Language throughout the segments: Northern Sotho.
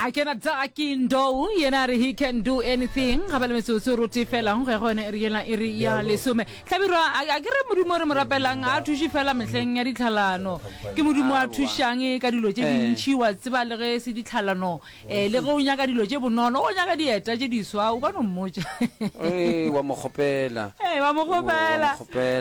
A ke na Daki Ndou, yena a re he can do anything. Ga ba le metsotso rote fela go ya go yone iri yela iri ya lesome. Hlabirwa a ke re Modimo o re mo rapelang a thuše fela mehleng ya ditlhalano. Ke Modimo a thušang ka dilo tše dintši wa tseba le ge se ditlhalano eh le ge o nyaka dilo tše bonolo o nyaka dieta tše diswa o ka no mmotša. Ee wa mo kgopela. Ee wa mo kgopela.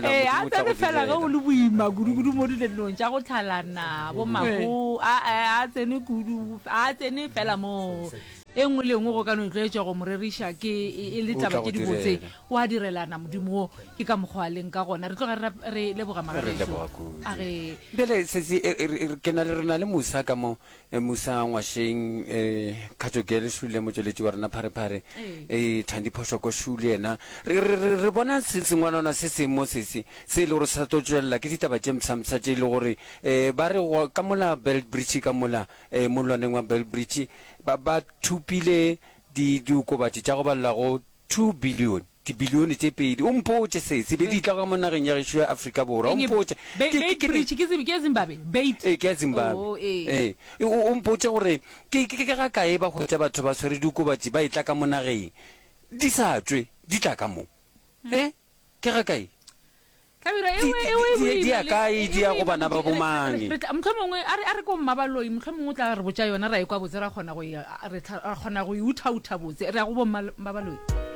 Ee a tsene fela ge o le boima kudu-kudu mo dilong tša go tlhalana bo mago a a tsene kudu a tsene fela moo. E nngwe le e nngwe go ka no itlwaetša go mo reriša ke e le taba tše dibotse o a direlana Modimo wo ke ka mokgwa a leng ka gona. Re tloga re re leboga magagešo a ge. Bjale sesi ke na le re na le Musa ka mo Musa Ngwašeng, Khatšo Girl Šule, motšweletši wa rena Pharephare, Thandi Phošoko Šule yena. Re, re, re, re bona se sengwalwana se seng mo sese, se e le gore se sa tlo tšwelela, ke ditaba tše mpshampsha tše e le gore um ba re go, ka mola Beitbridge ka mola, um mollwaneng wa Beitbridge, ba, ba thopile di, diokobatši tša go balela go 2 billion. Dibilione tše pedi. O mpotše se, se be di tla ka mo nageng ya gešo ya Afrika Borwa. O mpotše. Ke, ke, ke, Bridge, ke, ke ya Zimbabwe. Beit. Ee, ke ya Zimbabwe. Oh, ee. Ee. O, o mpotše gore ke, ke, ke ga kae ba hwetša batho ba swere diokobatši ba etla ka mo nageng, di sa tšwe, di tla ka mo. E? Ke ga kae? Hlabirwa, e we, e we Di, di ya kae, di ya go bana ba bomang? Mohlomongwe, a re, a re ko Mmabaloi, mohlomongwe o tla re botša yona, ra e kwa botse, ra kgona go e, re, ra kgona go e uthautha botse. Re ya go bo Mmabaloi.